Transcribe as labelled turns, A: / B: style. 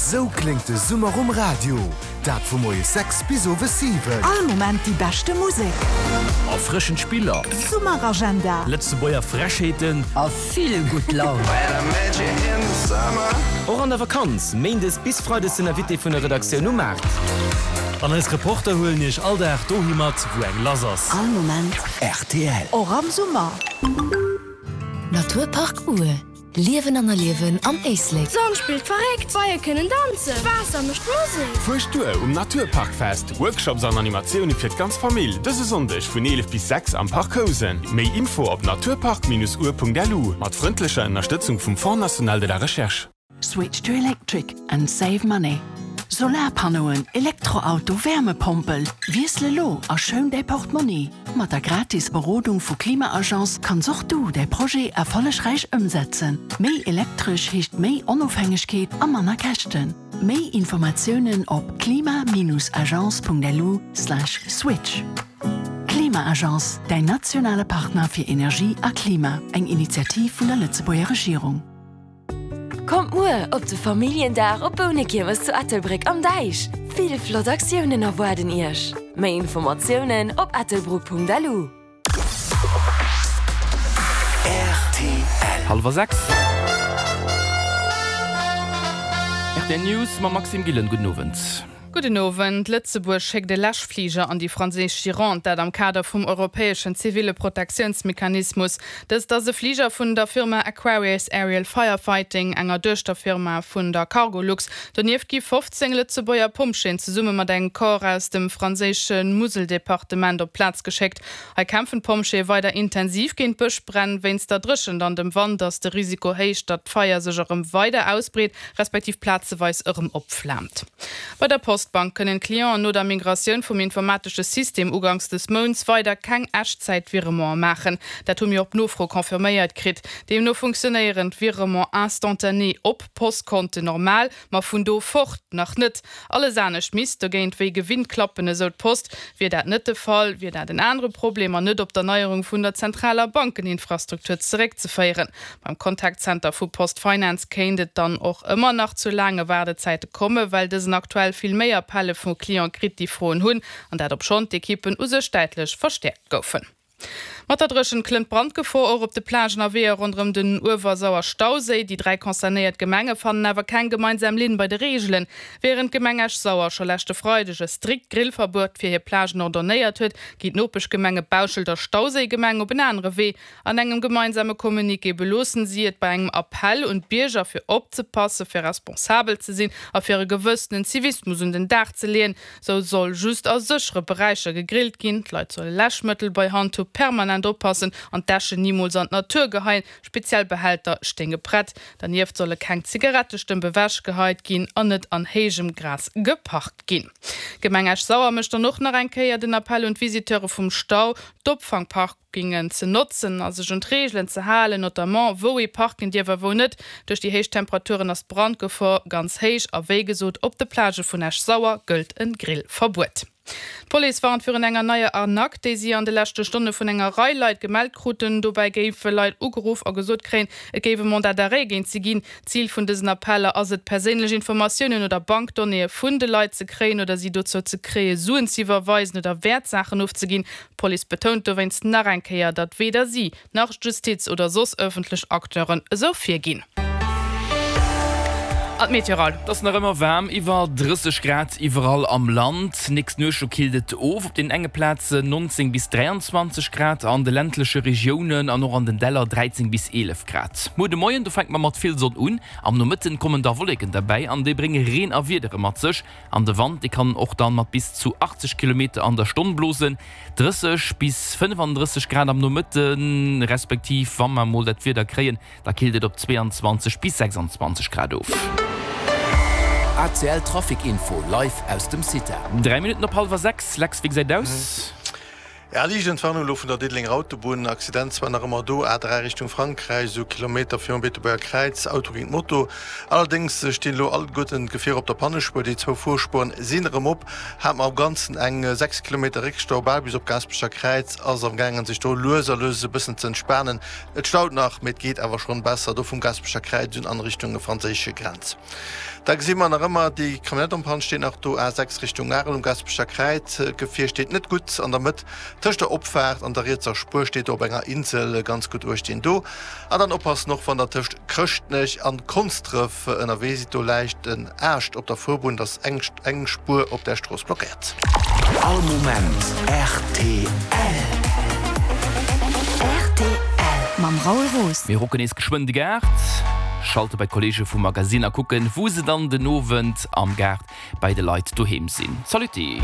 A: Esou kléngt de Summer um Radio, dat vu moies 6 bis owes 7.
B: All Moment déi beschte Musek.
C: Erfrëschend Spiller.
B: Summeragenda.
C: Lëtzebuerger Frechheeten.
D: A vill gutt Laun.
C: Och an der Vakanz, Méindes bis Freides den Invité vun der Redaktioun um Maart.
E: An eis Reporter huelen iech all Dag dohi mat, wou eng lass ass.
B: All Moment
A: rtl.
B: Och am Summer.
F: Naturpark Our, Liewen an Erliewen am Éislek.
G: D'Sonn spillt verréckt, d'Beie kënnen danzen, d'Waasser mécht Musek.
H: Fuercht duer um Naturparkfest, Workshops an Animatioune fir d'ganz Famill, dëse Sonndeg vun 11 bis 6 am Parc Housen. Méi Info op naturpark-our.lu mat frëndlecher Ënnerstëtzung vum Fonds National de la Recherche.
I: Switch to electric and save money. Solarpannoen, Elektroauto, Wärmepompel, Wiessel elo a schoun däi Portmonni! Mat der gratis Berodung vu Klima-Agence kanns och du däi Projet erfollegräich ëmsetzen. Méi elektresch heescht méi Onofhängegkeet a manner Käschten. Méi Informatiounen op klima-agence.lu/switch. Klima-Agence, däin nationale Partner fir Energie a Klima, eng Initiativ vun der Lëtzebuerger Regierung.
J: Kommt muer op de Familljendag op Bounekiermes zu Ettelbréck am Däich! Vill flott Aktiounen erwaarden Iech! Méi Informatiounen op ettelbruck.lu.
A: Rtl.
K: Hallwer 6. Rtl News mam Maxime Gillen. Gudden Owend.
L: Gudden Owend. Lëtzebuerg schéckt e Läschfliger an déi franséisch Gironde, dat am Kader vum europäeschen ziville Protektiounsmechanismus. Dëst ass e Fliger vun der Firma Aquarius Aerial Firefighting, enger Duechterfirma vun der Cargolux. Donieft gi 15 Lëtzebuerger Pompjeeën zesumme mat engem Corps aus dem franséische Museldepartement op d'Plaz geschéckt. Hei kämpfen d'Pompjeeë weider intensiv géint d'Bëschbränn. Wéinst der Dréchent an dem Wand ass de Risiko héich, datt d'Feier sech erëm weider ausbreet, respektiv plazeweis erëm opflaamt. Bei der Postbank kënnen d'Clienten no der Migratioun vum informatesche System uganks des Mounts weider keng Echtzäit-Viremente maachen. Dat hu mir op Nofro confirméiert kritt. Deemno funktionéieren d'Virements instantanés op Postkonten normal, ma vun do fort nach net. Alles anescht misst dogéint wéi gewinnt klappen, esou d'Post. Wier dat net de Fall, wier dat en anere Problem an net op d'Erneierung vun der zentraler Bankeninfrastruktur zeréckzeféieren. Beim Contact Center vu PostFinance kéint et dann och ëmmer nach zu laange Waardezäite komme well dësen aktuell vill méi Appelle vu Cliente kritt, déi Froen hunn, an dat obschonn d'Ekippen u sech däitlech verstäerkt goufen. Mat der Dréchent klëmmt d'Brandgefor och op de Plagen a Weeër ronderëm den Uewersauer-Stauséi. Déi 3 concernéiert Gemenge fannen awer keng gemeinsam Linn bei de Reegelen. Wärend d'Gemeng Esch-Sauer scho leschte Freideg e strikt Grillverbuet fir hir Plagen ordonnéiert huet, ginn d'Nopeschgemenge Bauschelt a Stauséigemeng op en anere Wee. An engem gemeinsame Communiqué beloossen si et bei engem Appell un d'Bierger fir opzepassen, fir responsabel ze sinn a fir e gewëssenen Zivismus un den Dag ze leeën. Sou soll just a séchere Beräicher gegrillt ginn, d'Leit solle Läschmëttel bei Hand hu, permanent oppassen an d'Äschen nimools an d'Natur geheien, speziell Behälter stéinge prett. Dernieft solle keng Zigarettestëmp ewech geheit ginn an net an héijem Gras geparkt ginn. D'Gemeng Esch-Sauer mécht dann och nach eng Kéier den Appell un d'Visiteure vum Stau, d'Opfangpark. Gingen ze notzen a sech un d'Reegelen ze halen, notamment wou ee parken dierf a wou net. Duerch déi héich Temperaturen ass d'Brandgefor ganz héich a wéi gesot op de Plagë vun Esch-Sauer gëllt en Grillverbuet. D'Police warnt virun enger neier Arnaque, déi si an de leschte Stonne vun enger Rei Leit gemellt kruten. Dobäi géife Leit ugeruff a gesot kréien, et géif e Mandat d'arrêt géint si ginn. Zil vun dësen Appeller ass et, perséinlech Informatiounen oder Bankdonnéeë vun de Leit ze kréien oder si dozou ze kréie Suen ze iwwerweisen oder Wäertsaachen ofzeginn. D'Police betount dowéinst nach eng Kéier, datt weder si, nach d'Justiz oder soss ëffentlech Acteuren esou virginn. An d'Meteoral.
K: Et ass nach ëmmer waarm, iwwer 30 Grad iwwerall am Land. Nächst Nuecht do killt et of, op den enge Plazen 19 bis 23 Grad, an de ländleche Regiounen an och an den Däller 13 bis 11 Grad. Muer de Moien do fänke mer mat vill Sonn un, am Nomëtten kommen da Wolleken derbäi an déi brénge Reen a Wiedere mat sech. An de Wand, dee kann och dann mat bis zu 80 Kilometer an der Stonn blosen. 30 bis 35 Grad am Nomëtten, respektiv wa mer mol dat Wieder kréien, da killt et op 22 bis 26 Grad of.
A: ACL Trafic Info live aus dem CITA.
K: 3 Minutten op hallwer 6, Lex, wéi gesäit et aus?
D: Ja, liicht Entwarnung elo vun der Diddelenger Autobunn. Accident zwar nach ëmmer do, A3 Richtung Frankräich, esou Kilometer virum Beetebuerger Kräiz, Auto géint Moto. Allerdéngs stinn elo alleguerten d'Gefierer op der Pannespuer, déi zwou Fuerspueren sinn erëm op. Hat mer am Ganzen eng 6 Kilometer Réckstau, bal bis op Gaasperecher Kräiz. Ass am gaangen sech do lues a lues e bëssen ze entspanen. Et staut nach, mee et geet awer schonn besser do vum Gaasperecher Kräiz un an Richtung franséisch Grenz. Da gesi mer nach ëmmer déi Camionnette en panne steet nach do, A6 Richtung Arel um Gaasperecher Kräiz. D'Gefier steet net gutt an der Mëtt tëscht der Opfaart an der rietser Spuer, steet do op enger Insel. Ganz gutt uecht deen do. An dann oppassen och wann der tëscht Chrëschtnech an Konsdref ënnerwee sidd, do läicht en Aascht op der Fuerbunn, et ass eng eng Spuer op där Strooss blockéiert.
A: All Moment rtl.
F: Rtl mam Raoul Roos.
K: Mir rocken nees geschwënn de Gaart, schalte bei d'Kollege vum Magazine a kucken, wou se dann den Owend am Gaart bei de Leit doheem sinn. Saluti!